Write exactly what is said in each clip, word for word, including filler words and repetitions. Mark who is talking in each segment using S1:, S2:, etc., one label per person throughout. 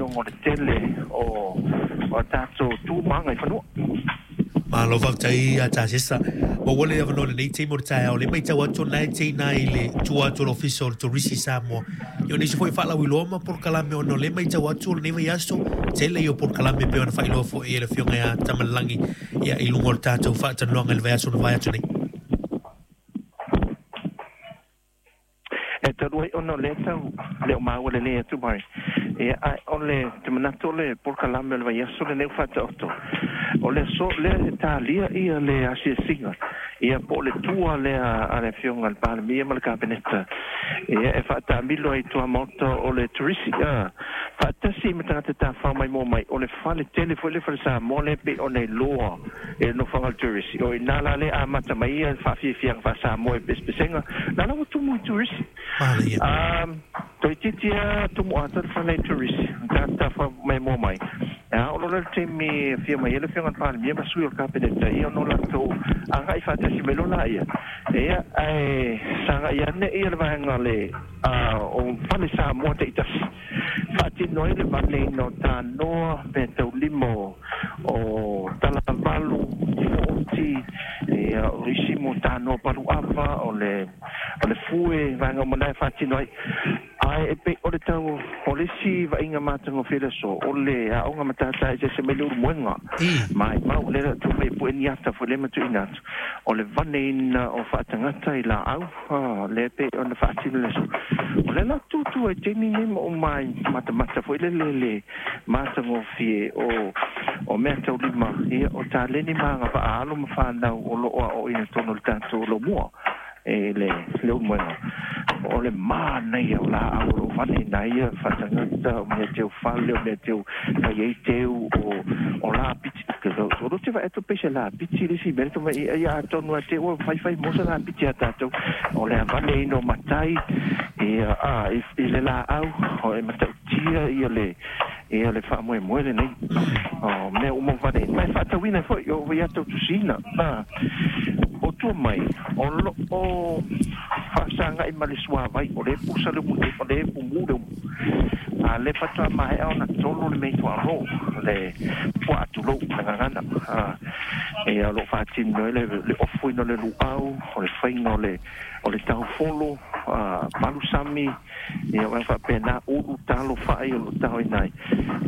S1: faatinoga o le tele o o tatou tu ma agaifanua.
S2: Malo faafetai ia Tasesa. Ua ua le avanoa i lenei taimi o le taeao, lea e matau atu o lena e teina i le tua atu o le Ofisa o le Turisi Samoa. Ia o nisi foi faalauiloa ma polokalame ona o lea e matau atu o lenei vaiaso, tele ia o polokalame e pei ona faailoa foi e le Afioga ia Tamalelagi ia i luga o le tatou faatalanoaga i le vaiaso na mavae atu nei.
S1: E talu ai ona o lea tau le o maua lelei atu mai. Ia, ae o le te manatu o le polokalame o le vaiaso lenei ua faataoto, o le aso lea e talia ia le asiasiga, ia po o le tua lea a le Afioga i le Palemia ma le Kapeneta, ia e faataamilo ai i tuamaota o le Turisi, a, faatasi ma tagata tafafao maimoa mai, o le fale tele foi le fale Samoa lea pei ona iloa e le nofoaga o le Turisi. O i ina la lea amata mai ia le faafiafiaga faa-Samoa i pesepesega, la la ua tumu i Turisi.
S2: Manaia.
S1: A, toeitiiti lava tumu atoa le fale i Turisi, tagata tafafao maimoa mai. A oo loa le taimi e afio mai ai le Afioga i le Palemia ma sui o le Kapeneta, ia ona o latou agai faatasi mai loa laia, ia, ae sagai ane ia le vaega o le o fale Samoa taitasi, faatino ai le vaneina o tanoa, meataulima o, o talavalu, oti, ia, o isi mo tanoa paluava, o le, o le fue, vaega uma na e faatino ai. Ae e pei o le tau o le isi vaaiga matagofie i le aso, o le aoga matata eseese mai le ulumoega. Maimau lea le atu mai pue ni ata foi lea ma tuuina atu, o le vaneina o faatagata i laau, lea pei ona faatino i le aso. O lea la tutu ai taimi nei ma uma ai matamata foi lele le matagofie o o meataulima, ia, o taleni ma agavaa alo ma fanau o loo aoaoina totonu o le tatou lomua e le le ulumoega. O le manaia o laau o loo vaneina ai ia faatagata, o mea teu fale, o mea teu fai ai teu, o o lapiti. O lo te vaai atu pei se lapiti le isi mea le tomai ia, atonu lava te ua faifai mo se lapiti a tatou. O le vaneina o matai ia a i le laau, o e matautia ia le ia le faamoemoe lenei o mea uma ua vaneina, ma e faatauina ai foi o ia tou tusiina. O tua mai o loo faasagai ma le suavai, o lea e pusa le umu nei, o lea e pumū le umu, a lea faatoa maea ona tolo le mei tuaalo, le puaa tulou le gagana, a ia o loo faatino ai le le ofoina o le luau, o le faiga o le o le taufolo, a palusami, ia o faapena, ulu talo fai o loo taoina ai.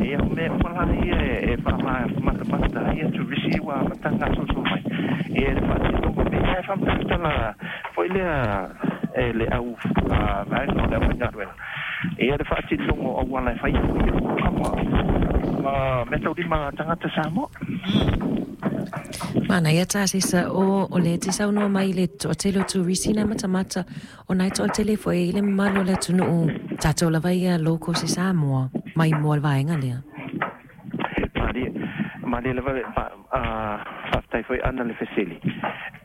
S1: Ia o mea uma la ia e faamatamata ai ia turisi ua amataga gasolosolo mai ia le faatinoga mea e faamatala foi lea e le au vaega o le aufaigaluega ia le faatinoga o auala e fai ai ia kama ma meataulima tagata Samoa.
S3: Manaia Tasesa o o le te saunoa mai i le toatele o turisi na matamata o nai toatele foi i le mamalu o le atunuu tatou lava ia locals i Samoa mai moa le vaega lea.
S1: Malie, malie lava le faafetai foi ana le fesili.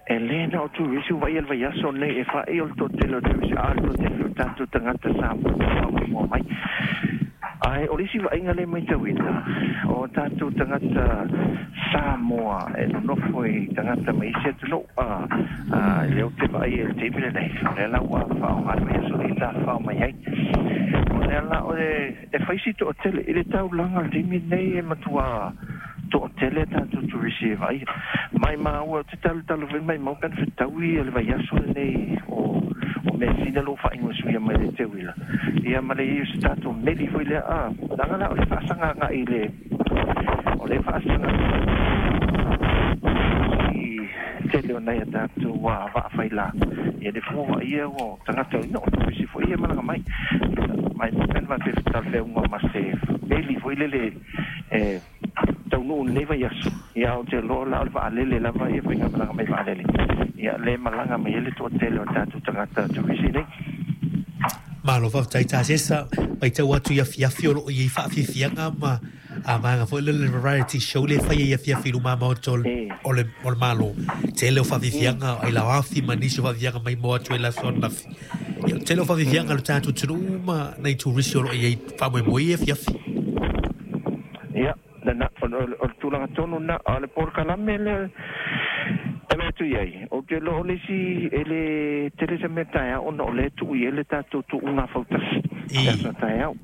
S1: E le na o turisi ua vaai le vaiaso nei e fai o le toatele o turisi, a o le toatele o tatou tagata Samoa e maimoa mai. Ae o le isi vaaiga lea e matauina, o tatou tagata Samoa e nonofo i tagata mai isi atunuu, a, a, lea ou te vaai i le taimi lenei, o lea la ua faaaoga le vaiaso nei tafafao mai ai. O lea la o le, e fai si toatele i le taulaga o le taimi lenei e matua toatele a tatou turisi e vaaia. Maimau, ou te talotalo foi maimau pe ana fetaui le vaiaso lenei o o measina lou faaigoa suia mai le teuila, ia ma le i ai o se tatou meli foi lea, a, leaga la o le faasaga agai i le, o le faasaga i tele o nai a tatou vaa faila, ia le fua vaaia ua tagata ina o turisi foi ia malaga mai. Maimau pe ana faapea e talafeauga ma se meli foi lele e taunuu i lenei vaiaso, ia ou te iloa la o le vaalele lava ia faigamalaga mai vaalele, ia lea e malaga mai ai le toatele o tatou tagata turisi nei.
S2: Malo faafetai Tasesa, matau atu i afiafi o loo i ai faafiafiaga ma a vaega foi lele le variety show lea e fai ai afiafi i luma maota o le o le o le Malo. Tele o faafiafiaga ai lauafi ma nisi o faafiafiaga maimoa atu ai le aso ananafi. Ia o le tele o faafiafiaga a le tatou atunuu ma nai turisi o loo i ai faamoemoe i afiafi.
S1: Ia, lena, o le o le tulaga tonu lena, a o le polokalame lea e vaai atu i ai, ou te iloa o le isi e le tele se mea taeao ona o lea e tuu i ai le tatou tuuga fautasi i le aso a taeao.